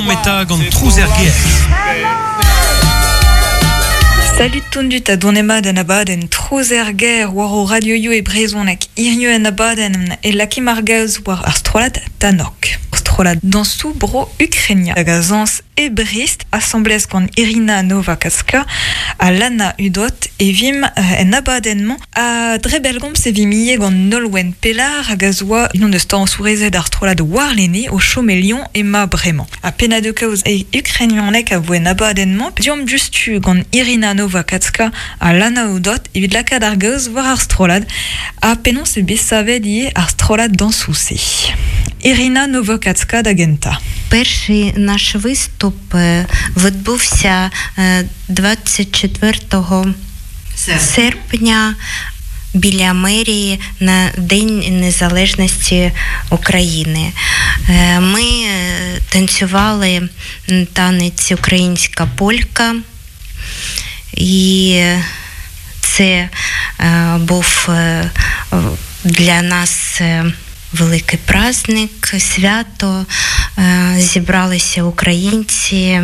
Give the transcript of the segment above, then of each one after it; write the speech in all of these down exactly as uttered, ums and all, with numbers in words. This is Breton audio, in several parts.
Meta gant trouz er gêr. Salut tondut a donemad en abadenn trouz er gêr war o radioioù e brezhoneg hiziv en abadenn e lakim ar gaoz war ar strollad Tanok. Strollad dañsoù bro Ukrainia hag a zañs e Brest asambles gant Irina Novakatska ha Lana Udot e vim en abadenn-mañ a dre bellgomz e vim ivez gant Nolwenn Pellar hag a zo oa unan deus dañsourezed ar strollad warlene o chom e Lyon ema bremañ. Ha pennadoù kaoz e ukrainianeg a vo en abadenn-mañ deomp diouzhtu gant Irina Novakatska ha Lana Udot evit lakaat ar gaoz war ar strollad ha penaos eo bet savet ivez ar strollad dañsoù-se. Irina Novakatska da gentañ. Перший наш виступ відбувся двадцять четвертого серпня біля мерії на День Незалежності України. Ми танцювали танець «Українська полька», і це був для нас великий праздник, свято. Зібралися українці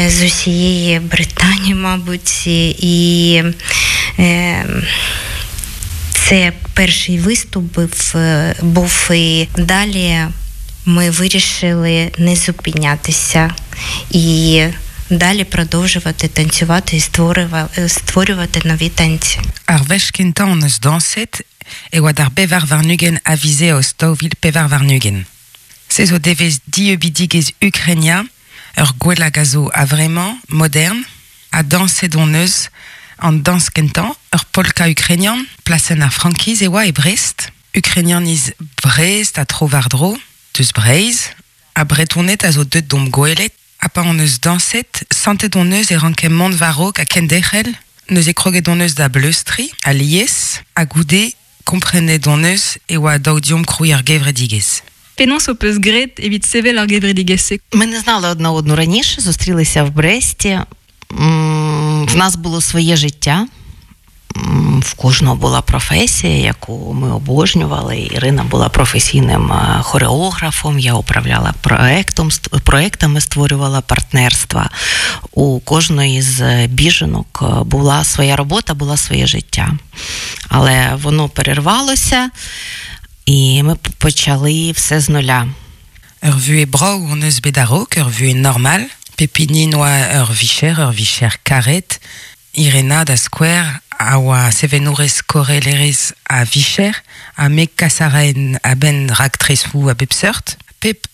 з усієї Британії, мабуть, і це перший виступ був, був, і далі ми вирішили не зупинятися і далі продовжувати танцювати і створювати нові танці. Ar wech kentañ hon eus dañset e oa d'ar pevar warn-ugent a viz Eost daou vil pevar warn-ugent. Se zo devezh dieubidigezh Ukrainia, ur gwell hag a zo a-vremañ, modern, ha dañset hon eus an dañs kentañ, ur polka ukrainian, plasenn ar frankiz e oa e Brest, Ukrainianiz Brest a tro war-dro, deus Breizh, ha Bretoned a zo deut d'omp gwelet, ha pa hon eus dañset, santet hon eus e ranke mont war-raok ha kenderc'hel, neuze kroget hon eus da bleustriñ, a lies, ha goude komprenet hon eus e oa dav deomp krouiñ ar gevredigezh. Penaos ho peus graet evit sevel ar gevredigezh-se? Ми не знали одна одну раніше, зустрілися в Бресті. В нас було своє життя. В кожного була професія, яку ми обожнювали. Ірина була професійним хореографом, я управляла проектом, проектами, створювала партнерства. У кожної з біженок була своя робота, була своє життя. Але воно перервалося, і ми почали все з нуля. Ur vuhez brav hon eus bet a-raok, ur vuhez normal. Pep hini n'oa ur vicher, ur vicher karet. Irena da skouer a oa sevenourez korelerez a vicher, ha me kas a raen a-benn raktresoù a bep seurt. Pep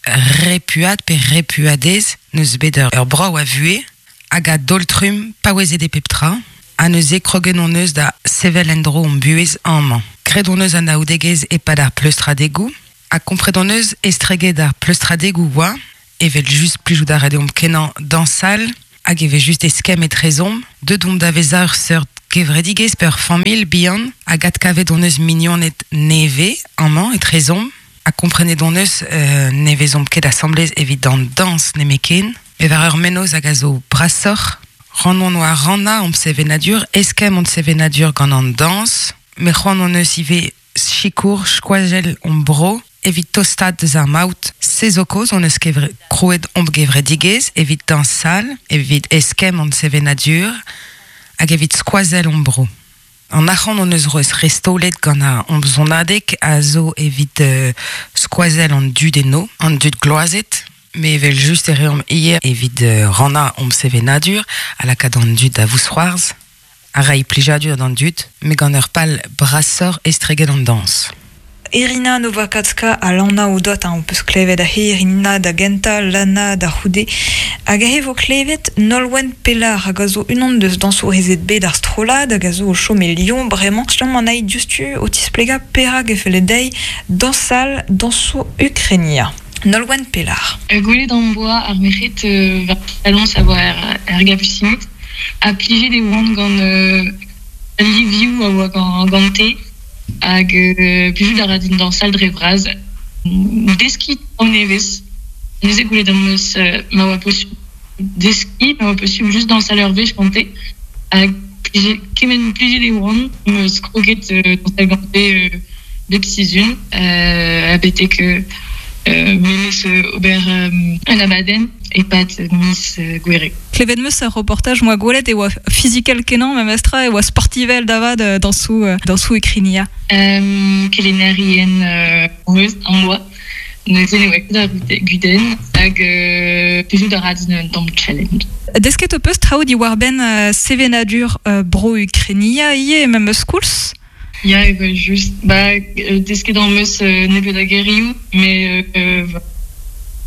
repuad pe repuadez neus bet ur, ur brav a vuhez, hag a daol-trumm paouezet e pep tra, ha neuze kroget hon eus da sevel en-dro hon buhez amañ. Graet hon eus anaoudegezh e-pad ar pleustradegoù, ha kompret hon eus estreget ar pleustradegoù oa, evel just plijout a ra deomp kenañ dañsal, hag evel just eskemm etrezomp, deut omp da vezañ ur seurt kevredigezh pe ur familh bihan, hag adkavet hon eus mignoned nevez amañ etrezomp, ha komprenet hon eus euh, ne vezomp ket asamblez evit an dañs nemetken, met war ur mennozh hag a zo brasoc'h, c'hoant hon oa rannañ hon sevenadur, eskemm hon sevenadur gant an dañs, met c'hoant hon eus ivez sikour skoazell hon bro, evit tostaat deus ar maout. Se zo kaoz hon eus kevre, krouet hon gevredigezh evit dañsal, evit eskemm hon sevenadur, hag evit skoazell hon bro. An arc'hant hon eus roez restaolet gant ar hon sonadeg a zo evit euh, skoazell an dud eno, an dud gloazet, met evel just e reomp ivez evit euh, rannañ hon sevenadur, ha lakaat an dud da vousc'hoarzh, a reiñ plijadur d'an dud, met gant ur pal brasoc'h estreget an dañs. Irina Novakatska ha Lana Udot hein, on peus klevet aze Irina da gentañ, Lana da c'houde. Hag aze vo klevet Nolwenn Pellar hag a zo unan deus dañsourezed bet ar strollad hag a zo o chom e Lyon bremañ. Selaomp anezhi diouzhtu o tisplegañ perak e felle dezhi dañsal dañsoù Ukrainia. Nolwenn Pellar. Gwelet am boa ar merc'hed war saloñs a oa er, er Gapusined, ha plijet e oant gant euh, livioù a oa gant, gante, hag euh, plijout a ra din dañsal dre vras. Deskiñ traoù nevez. Neuze gwelet am eus euh, ma oa posubl deskiñ, ma oa posubl just dañsal ur wech gante, hag plijet, kement plijet e oant, am eus kroget euh, dañsal gante euh, bep sizhun, euh, ha betek euh, memes ober euh, un abadenn e-pad miz Gouere. Klevet meus ur reportaj moa gwelet e oa physical kenañ memestra e oa sportivel davad dañsoù dañsoù Ukrainia. Um, kelennerien euh, meus an oa. Neuze ne oa ket ar gudenn hag euh, plijout a ra din un tamm challenge. Desket ho peus traoù diwar-benn uh, sevenadur uh, bro Ukrainia ivez memes koulz? Ya, evel just. Ba, desket an meus euh, nebeut a gerioù, mais euh,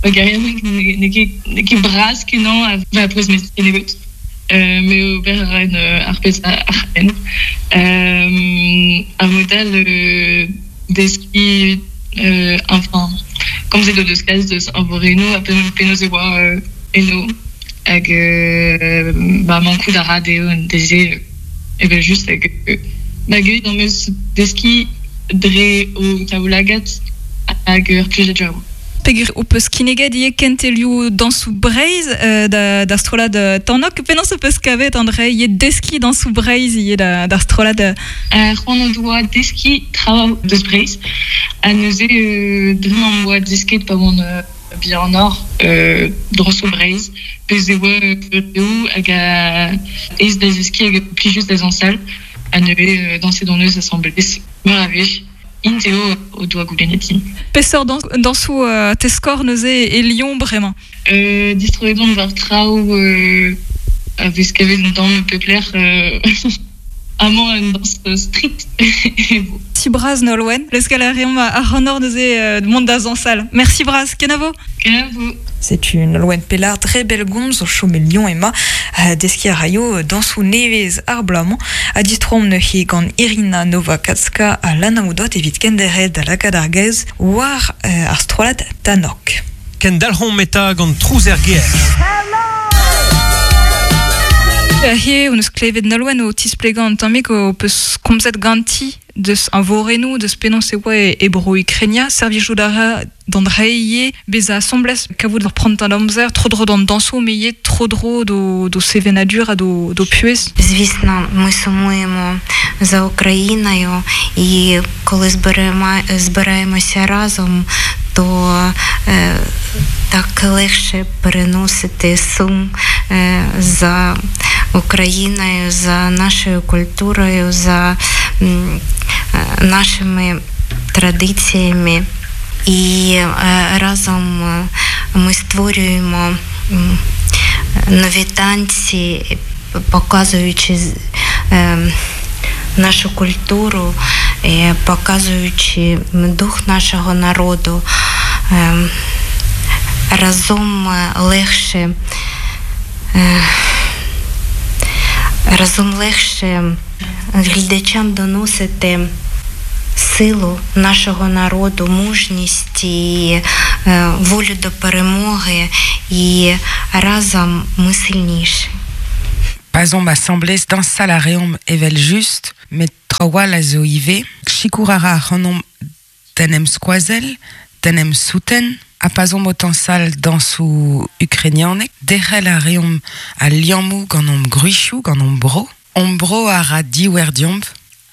ba gerioù n'eo ket n'eo ket bras kenañ a va prez mes nebeut. Euh, mais ober a ra ar pezh ar c'henn. Euh, ar modal euh, deskiñ euh, enfin komzet o deus kalz deus ar vorenoù ha penaos e oa euh, eno hag euh, ba mankout a ra dezho deze evel just hag euh, ba gellet am eus deskiñ dre o taoulagad hag ur plijadur. Peogwir ho peus kinniget ivez kentelioù dañsoù Breizh euh, da, da strollad Tanok. Penaos ho peus kavet an dre ivez deskiñ dañsoù Breizh ivez da, da strollad euh, C'hoant o doa deskiñ traoù deus Breizh. Ha neuze euh, dre m'am boa desket pa oan euh, bihanoc'h euh, dañsoù Breizh. Pezh e oa eo hag a aes da zeskiñ hag plijus da zañsal. Ha neuze euh, dañset hon eus asambles meur a wech. Int eo o doa goulennet din. Peseurt dañsoù euh, teskor neuze e Lyon bremañ? Euh, distroet on war traoù euh, a vez kavet un tamm pep lec'h euh, amañ un dañs street. Merci bras Nolwenn. Leuskel a reomp ar c'hannor neuze euh, mont da zañsal. Merci bras, kenavo. Kenavo. Setu Nolwenn Pelard dre bellgomz o chom e Lyon ema deskiñ a raio dañsoù nevez ar bloaz-mañ ha distroomp neuze gant Irina Novakatska ha Lana Oudot evit kenderc'hel da lakaat ar gaoz war euh, ar strollad Tanok. Kendalc'homp eta gant trouz er gêr. He, on eus klevet Nolwenn o tisplegañ an tammig o peus komzet ganti deus an vorennoù, deus penaos e oa e bro Ukrainia, servijout a ra d'an dre ivez bezañ asambles kavout ur prantad amzer, tro-dro d'an dañsoù, met ivez tro-dro d'o, d'o sevenadur ha d'o, d'o puhez. Звісно, ми сумуємо за Україною, і коли зберемо, збираємося разом, то е, так легше переносити сум е, за Україною, за нашою культурою, за м, нашими традиціями. І е, разом ми створюємо нові танці, показуючи е, нашу культуру, е, показуючи дух нашого народу. Е, разом легше е, разом легше глядачам доносити силу нашого народу, мужність і е, волю до перемоги, і разом ми сильніші. Pa'z omp asambles dañsal a reomp evel just, met trawal a zo ivez. Sikour a ra ac'hanomp d'en em skoazell, d'en em souten, ha pa'z omp o tañsal dañsoù ukrainianek, derc'hel a reomp al liammoù gant hon gwrizioù, gant hon bro. Hon bro a ra diouer deomp,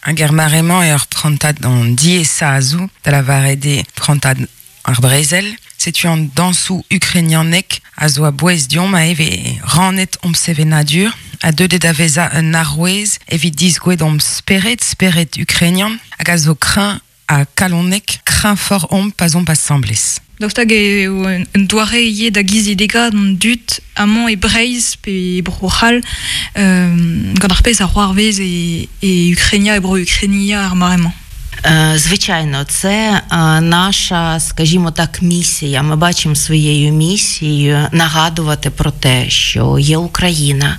hag er mare-mañ eo ur prantad an diaesañ a zo, da lavaret eo prantad ar brezel. Setu an dañsoù ukrainianek a zo a-bouez deomp a eve rannet omp sevenadur, a deuet da vezañ un arouez evit disgouet omp spered, spered ukrainian, hag a zo kreñv ha kalonek, kreñv fort omp pa'z omp asambles. Daoust hag eo un doare ivez da gizidegañ d'an dud amañ e Breizh pe e Bro-C'hall euh, gant ar pezh a c'hoarvez e, e Ukrainia e bro Ukrainia ar mare-mañ. Звичайно, це наша, скажімо так, місія. Ми бачимо своєю місією нагадувати про те, що є Україна,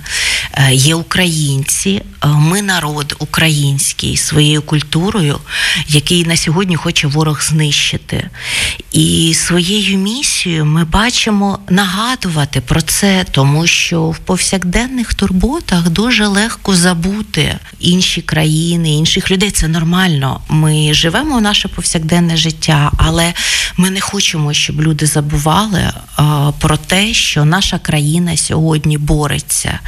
є українці, ми народ український своєю культурою, який на сьогодні хоче ворог знищити. І своєю місією ми бачимо нагадувати про це, тому що в повсякденних турботах дуже легко забути інші країни, інших людей. Це нормально. Ми живемо наше повсякденне життя, але ми не хочемо, щоб люди забували про те, що наша країна сьогодні бореться.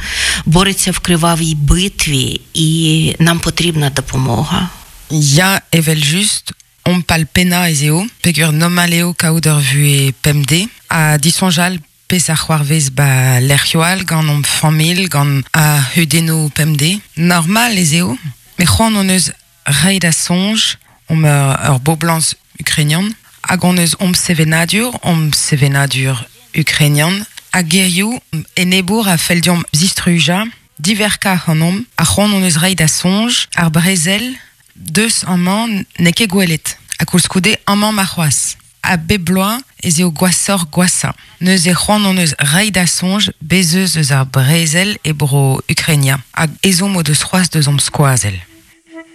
Бореться в кривавій битві, і нам потрібна допомога. Ya evel just, omp al pennañ ez eo, peogwir normal eo kaout ur vuhez pemdez, ha disoñjal pez ar c'hoarvez ba lec'hioù all gant hon familh, gant a hudennoù pemde. Normal ez eo, met c'hoant hon eus reiñ da soñj, omp ur, ur boblañs ukrainian, hag hon eus omp sevenadur, omp sevenadur ukrainian, hag gerioù enebour a fell deomp zistrujañ, diverkañ ac'hanomp, ha c'hoant hon eus reiñ da soñj, ar brezel, deus amañ n'eo ket gwelet. Ha koulskoude amañ ma c'hoazh. A bep bloaz ez eo gwashoc'h gwashañ. Neuze c'hoant hon eus reiñ da soñj bez eus eus ar brezel e bro Ukrainia. Hag ezhomm o deus c'hoazh deus omp skoazell.